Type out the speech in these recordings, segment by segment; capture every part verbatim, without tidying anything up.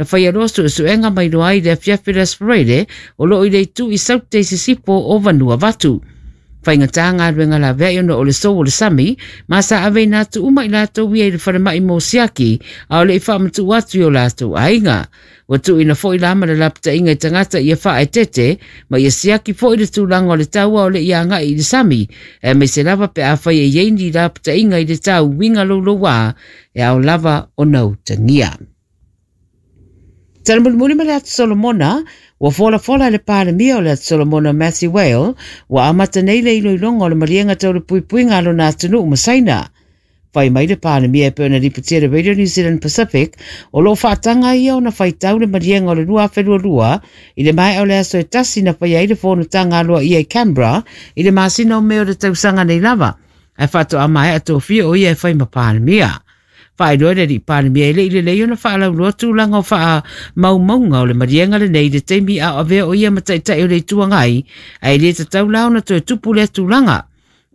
Na faia loa suesuega ma iloa ai i le afiafi o le Aso Faraile o loo i le itu i Saute i sisifo o Vanuatu. Faigata galuega laveai ona o le sou o le sami, ma sa aveina atu uma i latou ia i le falemai mo siaki, a o le i faamatuu atu i o latou aiga. Ua tuuina foi la ma le lapataiga i tagata ia faaeteete ma ia siaki foi le tulaga o le tau a o le i agai i le sami, aemaise lava pe afai e i ai ni lapataiga i le tau uiga louloua e ao lava ona utagia. Tala mulimuli ma le Atu Solomona, ua folafola e le Palemia o le Atu Solomona Matthew Whale, ua amata nei le iloiloga o le maliega tau le puipuiga a lona atunuu ma Saina. Fai mai le Palemia e pei ona lipotia e le Radio New Zealand Pacific, o loo faataga ia ona faitau le maliega o le lua afe lualua i le maea o le aso e tasi na faia ai le fonotaga aloaia i Canberra i le masina o Me o le tausaga nei lava, ae faatoa maea tofia o ia e fai ma Palemia. Faailoa le alii Palemia e le i lelei ona faalauloa tulaga o faamaumauga o le maliega lenei i le taimi a o avea o ia ma taitai o le Itu Agai, ae le tatau la ona toe tupu lea tulaga.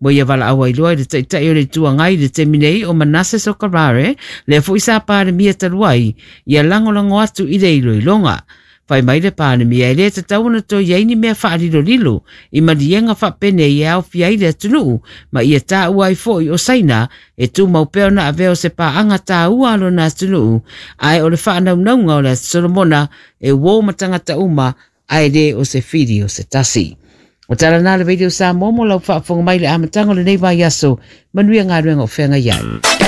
Ua ia valaau ai loa i le taitai o le Itu Agai i le taimi nei o Manasseh Sogavare, lea foi sa Palemia talu ai, ia lagolago atu i le iloiloga. Fai mai le Palemia e le tatau ona toe i ai ni mea faalilolilo i maliega faapenei e aofia ai le atunuu ma ia taua ai foi o Saina e tumau pea ona avea o se paaga taua a lona atunuu, ae o le faanaunauga o le Atu Solomona e uo ma tagata uma ae le o se fili o se tasi. O tala na le Radio Samoa mo lau faafofoga mai i le amataga o lenei vaiaso. Manuia galuega o feagai ai.